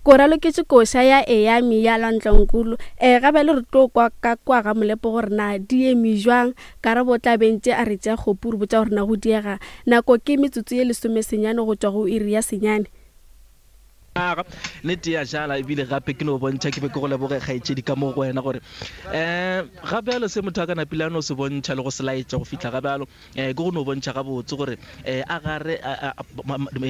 Ko raloketše koša ya Eyami ya Lwantlankulu. E, ga bjale re tlo kwa ka kwa ga Molepo gore na di eme jwang. Karabo o tla be ntše a re tšea kgopu re botša gore na go diega. Nako ke metsotso ye lesomesenyane go tšwa go iri ya senyane. Aga, nnete ya jala ebile gape ke no bontšha ke be ke go leboge kgaetšedi ka mo go wena gore um ga bjalo se motho a ka napile a no se bontšha le go se laetša go fihla ga bjalo um ke go no bontšha gabotse gore um a gare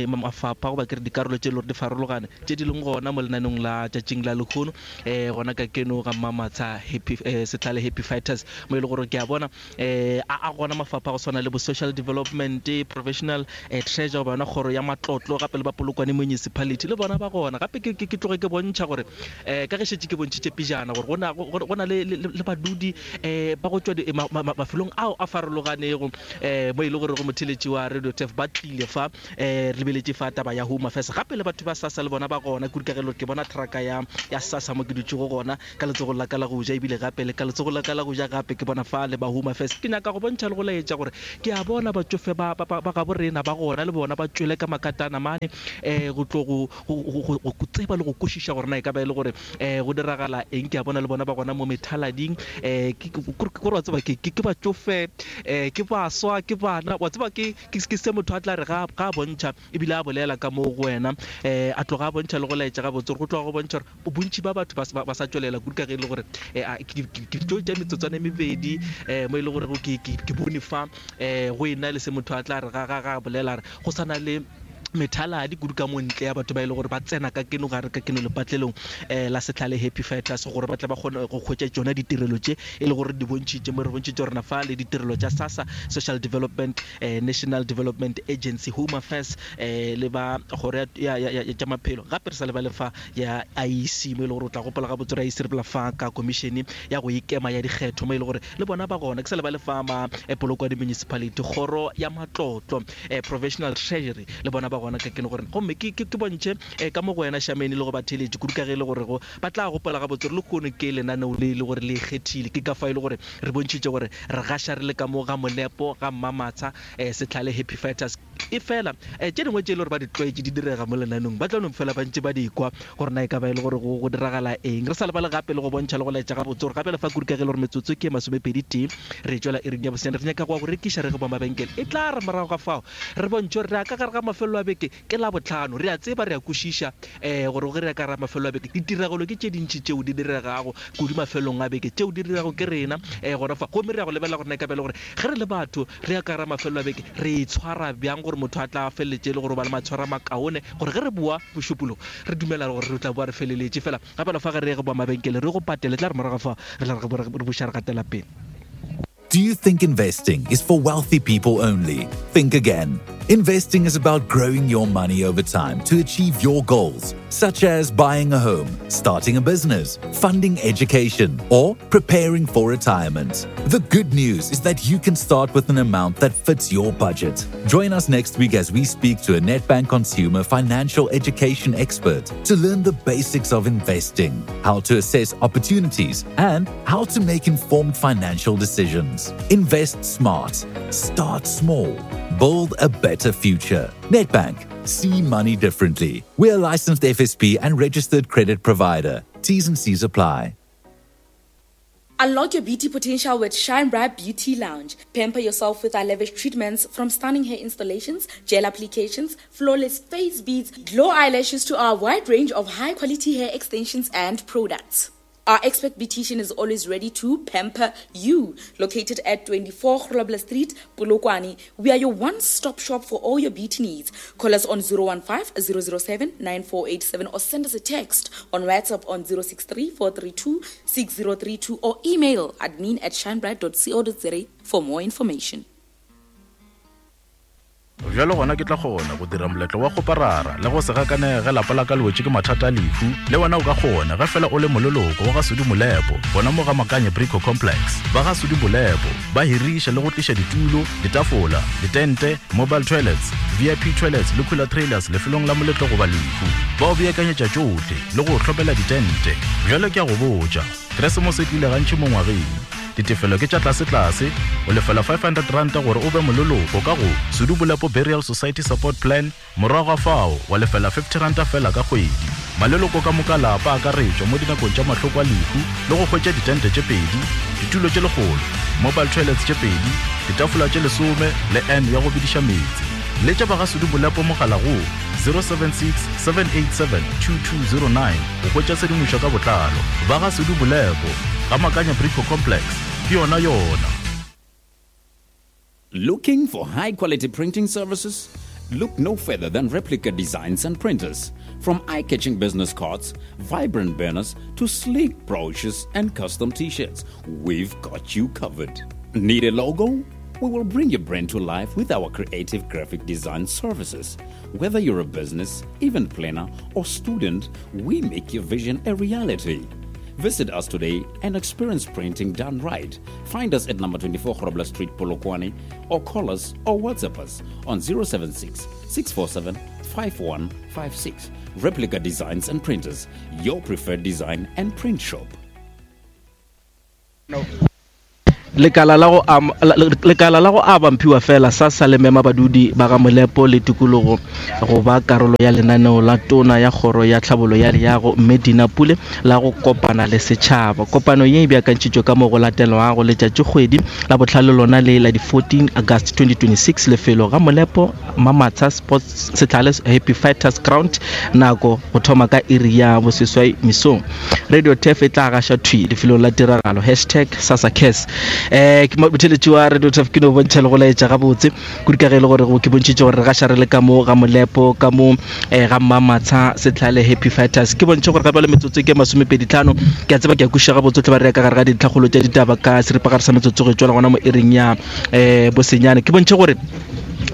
mafapha goba ke re dikarolo tše e le gore di farologane tše di leng gona mo lenaneong la tšatšing la lehono um gona ka keno ga Mmamatsha Happy um Setlhale Happy Fighters mo e le gore ke a bona um a a gona mafapha go swana le bo social development, professional um treasure goba yona kgoro ya matlotlo gape le ba Polokwane Municipality le bona ba gona. Gape ke ke tloge ke bontšha gore um ka ge šetše ke bontšhitše pejana gore go na go na le le badudi um ba go tšwa mafelong ao a farologanego um mo e le gore go motheletši wa Radio Turf ba tlile fa um re lebeletše fa taba ya Home Affairs gape le batho ba SASSA le bona ba gona kudu ka ge ke bona traka ya ya SASSA mo ke dutšego gona ka letsogong la ka la go ja ebile gape le ka letsogong la ka la go ja gape ke bona fa le ba Home Affairs ke nyaka go bontšha le go laetša gore ke a bona batšofe ba ba ba gabo rena ba gona le bona ba tšwele ka makatana mane um go tlo go go go tseba le go kwešiša gore na e ka ba e le gore um go diragala eng. Ke a bona le bona ba gona mo methalading. Um ke gore wa tseba ke ke batšofe, um ke baswa, ke bana. Wa tseba ke ke se motho a tla re ga ga a bontšha ebile a bolela ka mo go wena, um a tloga a bontšha le go laetša gabotse gore go tloga go bontšha gore bontši ba batho ba ba sa tšwelela kudu ka ge e le gore um ke tlo tša metsotswana e mebedi um mo e le gore ke bone fa um go e na le se motho a tla re ga ga ga bolela re go sa na le methaladi kudu ka mo ntle ya batho ba e le gore ba tsena ka keno gare ka keno lepatlelong um la Setlhale Happy Fighters gore ba tle ba kgone go hwetša tšona ditirelo tše e le gore di bontšhitše mo re bontšhitše rena fa le ditirelo tša SASSA, Social Development um National Development Agency, Home Affairs um le ba kgoro ya tša maphelo gape re sa lebale fa ya IEC mo e le gore o tla gopola gabotse gore IEC re bolela fa ka komišene ya go ikema ya dikgetho mo e le gore le bona ba gona ke sa lebale fa ma Polokwane Municipality kgoro ya matlotlo eh, Provisional Treasury le bona ba gona ka keno gore gomme ke, ke, ke bontšhe eh, ka mo go wena Shameni le go batheeletši kudu ka ge e le gore go ba tla gopola gabotse gore lehono ke lenaneo le e le gore le ikgethile ke ka fa e le gore re bontšhitše gore re gaša re le ka mo ga Molepo ga Mmamatsha eh, Setlhale Happy Fighters efela eh, tše dingwe tše e le gore ba di tlwaetše di direga mo lenaneong ba tla no fela ba ntše ba di kwa gore na e ka ba e le gore go, go diragala eng re sa lebale gape le go bontšha le go laetša gabotse gore gape le fa kudu ka ge e le gore metsotso ke masomepedi tee Re tšwela iring ya bosenyane, re nyaka go ya go rekiša re ge ba mabenkele. E tla re morago ga fao re bontšhe gore re ya ka gare ga mafelelo a beke. Ke Labohlano. Re a tseba, re a kwešiša um gore ge re ya ka gare ga mafelelo a beke, ditiragalo ke tše dintši tšeo di diregago kudu mafelelong a beke, tšeo di dirago ke rena um gona fa. Gomme re ya go lebelela gore na e ka ba e le gore ge re le batho re ya ka gare ga mafelelo a beke, re itshwara bjang gore motho a tla feleletše e le gore o ba le maitshwaro a makaone, gore ge re boa Mošupologo re dumela gore re tla boa re feleletše. Fela Gape fa ge re ye go ba mabenkele re go patele, tla re morago fa re tla re buša re gatela pele. Do you think investing is for wealthy people only? Think again. Investing is about growing your money over time to achieve your goals, such as buying a home, starting a business, funding education, or preparing for retirement. The good news is that you can start with an amount that fits your budget. Join us next week as we speak to a Nedbank consumer financial education expert to learn the basics of investing, how to assess opportunities, and how to make informed financial decisions. Invest smart, start small, build a better future. Nedbank, see money differently. We're a licensed FSP and registered credit provider. T's and C's apply. Unlock your beauty potential with Shine Bright Beauty Lounge. Pamper yourself with our lavish treatments from stunning hair installations, gel applications, flawless face beads, glow eyelashes to our wide range of high quality hair extensions and products. Our expert beautician is always ready to pamper you. Located at 24 Grobler Street, Polokwane, we are your one-stop shop for all your beauty needs. Call us on 015 007 9487 or send us a text on WhatsApp on 063 432 6032 or email admin at shinebright.co.za for more information. Bjalo gona ke tla kgona go dira moletlo wa kgoparara le go se gakanege ge lapa la ka le wetše ke mathata a lehu. Le wena o ka kgona ge fela o le moleloko wa ga Sudi Molepo gona mo ga Makanye Brico Complex. Ba ga Sudi Molepo ba hiriša le go tliša ditulo, ditafola, ditente, mobile toilets, VIP toilets le cooler trailers lefelong la moletlo goba lehu. Ba o beakanyetša tšohle le go o hlomela ditente. Bjale ke a go botša, Keresemose e tlile gantši mo ngwageng. Ditefelo ke tša tlasetlase, o lefela R500 gore o be moleloko ka go Sudu Bolepo Burial Society Support Plan, morago ga fao wa lefela R50 feela ka kgwedi. Maleloko ka moka a lapa a akaretšwa mo dinakong tša mahloko a lehu le go hwetša ditente tše pedi, ditulo tše lekgolo, mobile toilets tše pedi, ditafola tše lesome le urn ya go bediša meetse. Letša ba ga Sudu Molepo mogala go 076 787 2209 go hwetša tshedimošo ka botlalo. Ba ga Sudu Molepo, Ga Makanya Brico Complex, ke yona yona. Looking for high quality printing services? Look no further than Replica Designs and Printers. From eye catching business cards, vibrant banners, to sleek brochures and custom t shirts, we've got you covered. Need a logo? We will bring your brand to life with our creative graphic design services. Whether you're a business, event planner, or student, we make your vision a reality. Visit us today and experience printing done right. Find us at number 24 Grobler Street, Polokwane, or call us or WhatsApp us on 076 647 5156. Replica Designs and Printers, your preferred design and print shop. Lekala la go lekala la go aba mphiwa fela SASSA le mema badudi ba ga Molepo le tikologo go ba karolo ya lenaneo la Tona ya Kgoro ya Tlhabollo ya Leago Mme Dina Pule la go kopana le setšhaba. Kopano ye e beakantšhitšwe ka mo go latelwago letšatšikgwedi la bohlano lona le la di 14 August 2026 lefelo ga Molepo Mamatsha Sports Setlhale Happy Fighters Ground nako go thoma ka iri ya boseswai mesong. Radio Turf e tla gaša thwi lefelong la tiragalo hashtag SASACARES. Eh, ke motheletši wa Radio Turf ke no bontšha le go laetša gabotse kudu ka ge e le gore ke bontšhitše gore re gaša re le ka mo ga Molepo ka mo eh, ga Mmamatsha Setlhale Happy Fighters. Ke bontšhe gore gape le metsotso ke masomepedi tlhano ke a tseba ke a kwešiša gabotse tle ba re ya ka gare ga dintlhakgolo tša ditaba ka seripagare sa metsotso go tšwela gona mo iring ya eh, bosenyane. Ke bontšhe gore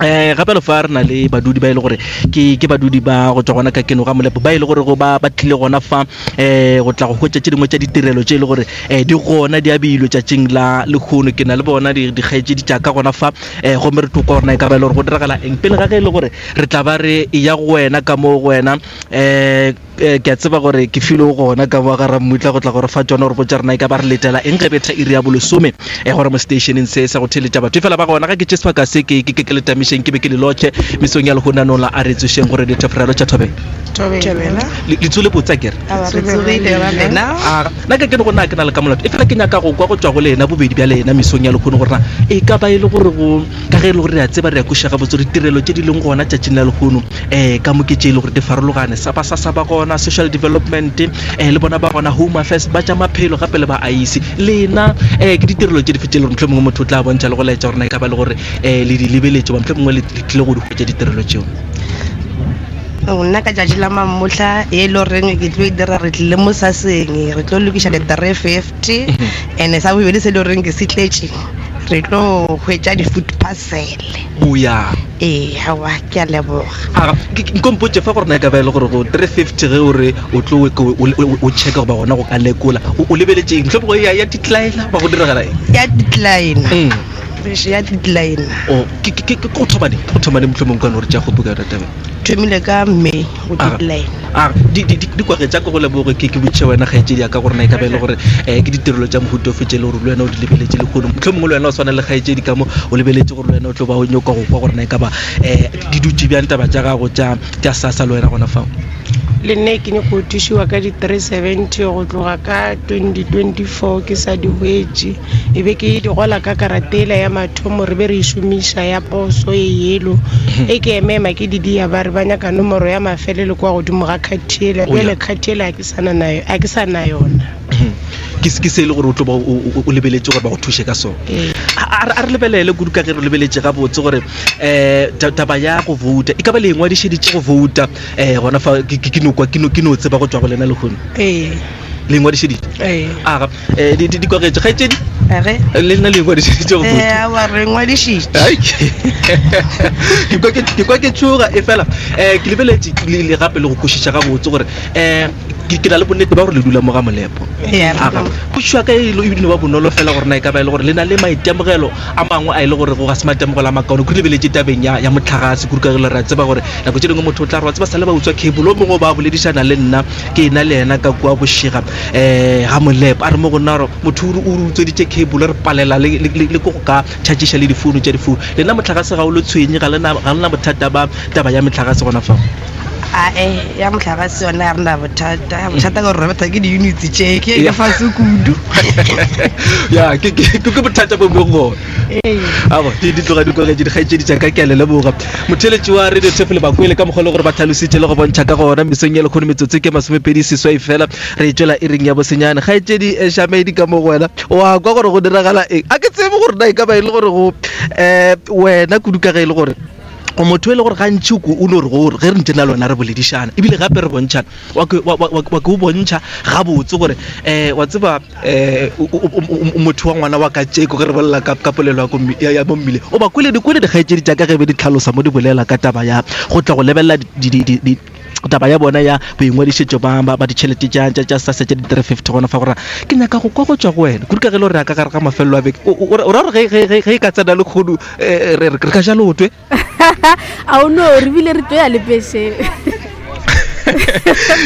eh gape le fa re na le badudi ba e le gore ke ke badudi ba go tswa gona ka keno ga molepo ba e le gore go ba ba tlile gona fa eh go tla go hwetša tše dingwe tša ditirelo tše e le gore eh di gona di abilwe tšatšing la lekgono ke na le bona dikgaetšedi tša ka gona fa eh gomme re tlo kwa gore na e ka ba e le gore go diragala eng pele ga ge e le gore re tla ba re ya go wena ka mo go wena eh Eh, ke a tseba gore ke filwe gona ka mo ga rammutla go tla gore fa tsona gore botsa rena e ka ba re letela eng ge betha iri ya bolesome e gore mo stationeng se sa go theletša batho e fela ba gona ga ke tše sebaka se ke ke ke letamišeng ke be ke le lotšhe mesong ya lehono la a re tsošeng gore dithefrelo tša thobela le tsole botsa kere nna ka kene go nna ke na le ka molato e fela ke nyaka go kwa go tswa go lena bobedi bja lena mesong ya lehono gore na e ka ba e le gore go ka ge e le gore re a tseba re a kweša gabotse gore ditirelo tše di leng gona tšatšing la lehono um ka mo ke tše e le gore di farologane sa ba sa sa ba gona social development um le bona ba gona home affairs ba tša maphelo gape le ba ice lena um ke ditirelo tše dife tše le gore motlho mongwe motho o tla bontšha le go laetša gore na e ka ba le gore um le di lebeletše ba motlho mongwe le tlile go di hwetša ditirelo tšeo nna ka tšatši la mamohla e le goreng ke tlo e dira re tlile mo saseng re tlo lokiša di-350 and sa bobedi se e le goreng ke se tletše re tlo hwetša di-food parcel oya ee aowa ke a leboga Aga, ke- ke- nko mpotše fa gore na e ka ba e le gore go 350 ge o re o tlo o- o- o- o checka goba gona go ka lekola o o lebeletše eng mohlomongwe ya ya decline ba go diragala eng ya decline Mm. ya decline O, ke ke- ke- ke go thoma neng go thoma neng mohlomongwe kwane gore tša kgopo ka yona taba thomile ka may go decline A di di di di kwage tša ko go leboge ke ke botšiša wena kgaetšedi ya ka gore na e ka ba e le gore um ke ditirelo tša mohuta ofe tše e le gore le wena o di lebeletše lehono mohlomongwe le wena o swana le kgaetšedi ka mo o lebeletše gore le wena o tlo ba o nyoka go kwa gore na e ka ba um di dutše bjang taba tša gago tša tša sasa le wena gona fao. Le nna ke nyako thušiwa ka di 370 go tloga ka 2024 ke sa di hwetše e be ke di gola ka karatela ya mathomo re be re e šomiša ya poso e yelo e ke emema ke di dia ba re ba nyaka nomoro ya mafelelo kwa godimo ga khathiela Oh, yeah. bjale khathiela a ke sana nayo a ke sa na yona ke se ke se e le gore o tlo ba o- o o lebeletše gore ba go thuše ka sona Ee. a a re lebelele kudu ka ge re lebeletše gabotse gore um taba ya go vouta e ka ba le ingwadišeditše go vouta um gona fa ke ke- ke no kwa ke no ke no tseba go tšwa go lena lehono ee le ingwadišeditše ee aga um di di kwagetše kgaetšedi Age? le nna le ingwadišeditše go Eh, vouta aowa, re ngwadišitše Ai, ke kwa ke ke kwa ke tšhoga e fela um ke lebeletše le le gape le go kwešiša gabotse gore um ke ke na le bonnete ba gore le dula mo ga molepo Ee, re aga dula mo- potšišo ya ka e le- e no ba bonolo fela gore na e ka ba e le gore le na le maitemogelo a mangwe a e le gore go ga se maitemogelo a makaone kudu lebeletše tabeng ya ya motlhagase kudu ka ge le re a tseba gore nako tše dingwe motho o tla re wa tseba sa le ba utswa cable o mongwe o ba boledišana le nna ke ena le yena ka kua bošega um ga molepo a re mo go nna gore motho o re o re utsweditše cable re palela le le- le- le ko go ka tšhatšiša le difounu tša difounu lena motlhagase ga o le tshwenye ga lena ga lena bothata ba taba ya metlhagase gona fao. Ae, ya mohlagase yona ga re na bothata. Bothata ke gore re betha ke di-units tše, ke e fase kudu. Ya, ke ke ke bothata bo bong gona. Abo, di di tloga di kwagetše dikgaetšedi tša ka, ke a le leboga. Motheeletši wa Radio Turf le bakwele ka mokgwa le gore ba tlhalositše le go bontšha ka gona mesong ya lekgono metsotso ke 28 fela re e tšwela iring ya bosenyane. Kgaetšedi Shamedi ka mo go wena wa kwa gore go diragala eng? A ke tsebe gore na e ka ba e le gore go um wena kudu ka ge e le gore o motho e le gore gantši o no re gore ge re ntse na le wena re boledišana ebile gape re bontšhana wa ke o bontšha gabotse gore um wa tseba um motho wa ngwana wa ka tšeko ge re bolela ka polelo ya mo mmile o ba kwele dikwele dikgaetšedi tša ka ge be di tlhalosa mo di bolela ka taba ya go tla go lebelela taba ya bona ya boingwadišetšo ba ditšhelete tša SASSA tša di-350 gona fa gore ke nyaka go kwa go tšwa go wena kudu ka ge le gore ya ka gare ga mafelelo a beke o ra gore ge e ka tsena le kgodu eh, re ka ja lotwe a o no re bile re tlo ya lepešeng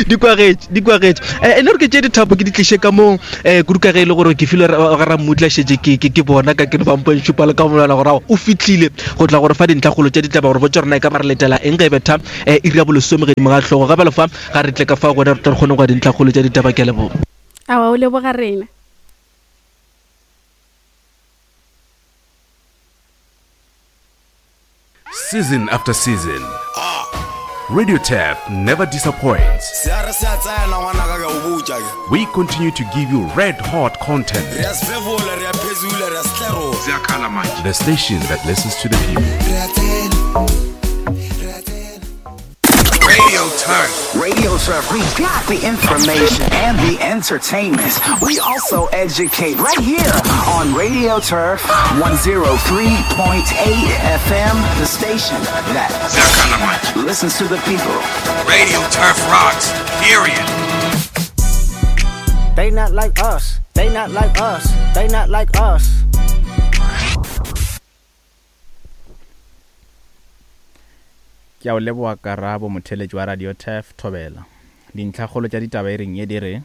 di kwagetše di kwagetše eh, e le gore ke tše dithapo ke di tliše ka moo um kudu ka ge e le gore ke filwe ga rammutla šetše ke bona ka ke no bampong šupa le ka monwana gore o fitlhile go tla gore fa dintlhakgolo tša ditlaba gore botse rona e ka ba re letela eng ge e betha um iri ya bolesome gedimo ga hlogo ga bjalo fa ga re tle ka fa gona re tle re kgone go ya dintlhakgolo tša ditaba ke a leboga. Aowa o leboga rena. Season after season, Radio Turf never disappoints. Se a re se a tsena ngwanaka ke a o botša ke. We continue to give you red hot content. Re a sefefola, re a phezula, re a setlerola. Ziyakhala manje. The station that listens to the people. Re a tsena. Radio Turf. Radio Turf. We got the information and the entertainment. We also educate right here on Radio Turf 103.8 FM, the station that listens to the people. Radio Turf rocks. Period. They not like us. They not like us. They not like us. Ke a o leboga Karabo, motheeletši wa Radio Turf, Thobela. Dintlhakgolo tša ditaba e reng ye di re,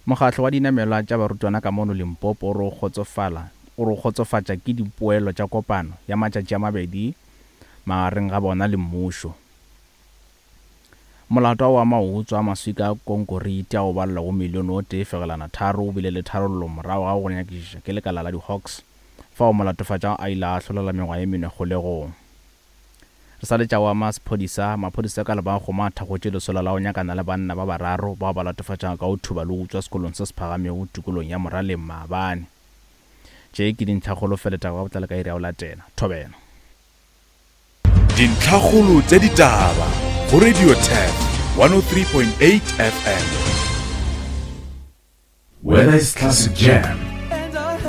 Mokgatlo wa dinamelwa tša barutwana ka mono Limpopo o re o kgotsofala o re o kgotsofatša ke dipoelo tša kopano ya matšatši a mabedi magareng ga bona le mmušo. Molato wa maotswa a maswika a konkoriti ao balelwago milione o tee fegelwana tharo o bile le tharollo morago ga go nyakišiša ke lekala la di-Hawks fao molatofatšwa a ile a ahlolelwa mengwaga ye mene kgolegong. Re sa le tša wa masephodisa, maphodisa ka Lebakgoma a thakgotše lesolo la go nyakana le banna ba bararo bao ba latofatšwago ka go thuba le go utswa sekolong se se phagamego tikolong ya Moraleng maabane. Tše ke dintlhakgolo fela taba ka botlalo ka iri ya go latela. Thobela. Dintlhakgolo tša ditaba go Radio Turf 103.8 FM. Whether it's classic jam,